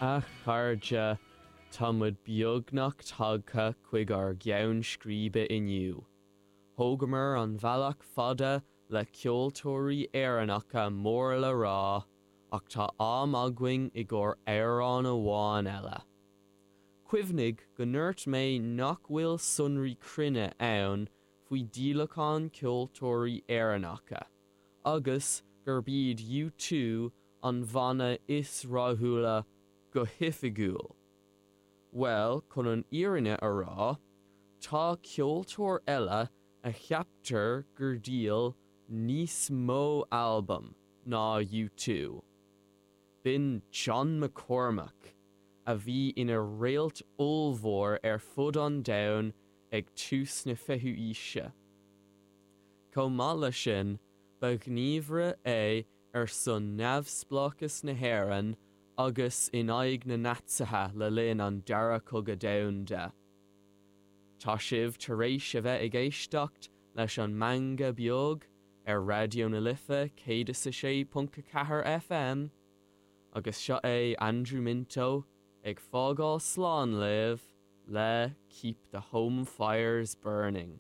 A chairde, tá muid beagnach tagtha chuig ár gceann scríbe inniu. Thógamar an bealach fada le ceoltóirí Éireannacha mór le rá, ach tá am againn i gcomhair amhrán amháin eile. Cuimhnigh go ndúirt mé nach bhfuil sonraí cruinne ann faoi dhíolacháin ceoltóirí Éireannacha, agus gurb iad U2 an bhanna is rathúla go hoifigiúil. Bhuel, chun an fhírinne a rá, tá ceoltóir eile a cheaptar gur dhíol níos mó albam ná U2. B'in John McCormack, a bhí ina réalt ollmhór ar fud an domhain ag tús na fichiú aoise. Chomh maith leis sin, ba ghníomhaire é ar son neamhspleáchas na hÉireann agus in aghaidh na Naitsithe le linn an Dara Cogadh Domhanda. Tá sibh tar éis a bheith ag éisteacht leis an Meangadh Beag ar Raidió na Life 106.4 FM, agus seo é Andrew Minto ag fágáil slán libh le Keep the Home Fires Burning.